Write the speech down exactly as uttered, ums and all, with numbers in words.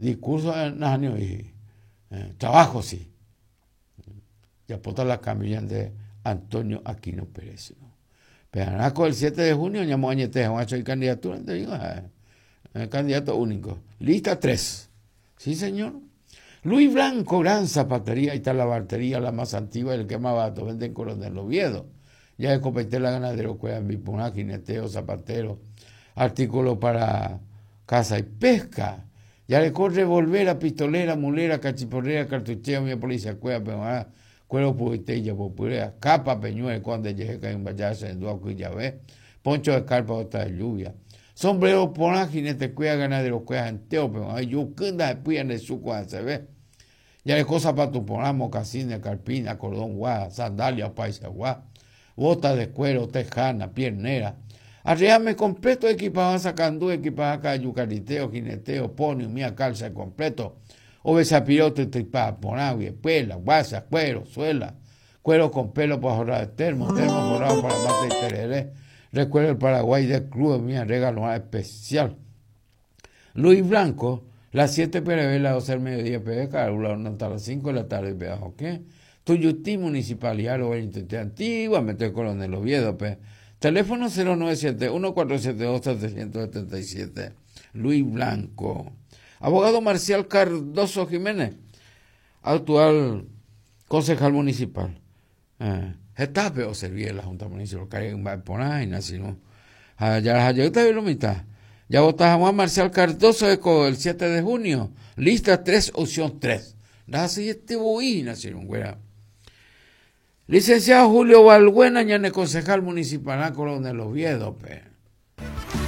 Discurso nahániri, trabajo sí. Japóta la cambio de Antonio Aquino Pérez. Pero el siete de junio ñamoañete hag̃ua y candidatura, te digo, eh, candidato único. Lista tres. Sí, señor. Luis Blanco, gran zapatería, ahí está la bartería, la más antigua, el que más barato vende en Coronel Oviedo. Ya de Copetela, ganadero, cueva, bipuná, jineteo, zapatero, artículo para caza y pesca. Ya le corre revolvera, pistolera, mulera, cachiporrera, cartuchera, mi policía, cueva, pero ah, cuero puitella, popurea, capa, peñuel, cuando llegue en vaya, en duaco y ya ve, poncho de carpa, bota de lluvia. Sombrero porá, jinete, cueva, ganadero, cueva, enteo, pero ay, yucunda, de puya, de suco, se ve. Ya le cosa para tu porá, mocasines, carpina, cordón, guá, sandalia, paisa, guá, bota de cuero, tejana, piernera. Arriame completo, equipado sacandú, equipado acá, yucariteo, jineteo, pony, mía calza completo. Obesa pirote, tripa, porá, espuela, guasa, cuero, suela, cuero con pelo para jorrar de termo, termo forrado para mate y tereré. Recuerdo el Paraguay del Club, mía, regalo especial. Luis Blanco, las siete P R B, las doce del mediodía, P B, Carula, hasta las cinco de la tarde, P, ¿ok? Tuyutí, Municipalidad, lo antiguamente Coronel Oviedo, P. Teléfono cero nueve siete, uno cuatro siete dos, setecientos setenta y siete. Luis Blanco. Abogado Marcial Cardoso Jiménez, actual concejal municipal. Eh, Getafe o servía la Junta Municipal, que por ahí, no. Ya, ya, ya, mitad. Ya votamos a Marcial Cardoso el siete de junio. Lista tres, opción tres. Así este boina, güera. Licenciado Julio Balbuena, ñane concejal municipal, Coronel Oviedo, pe.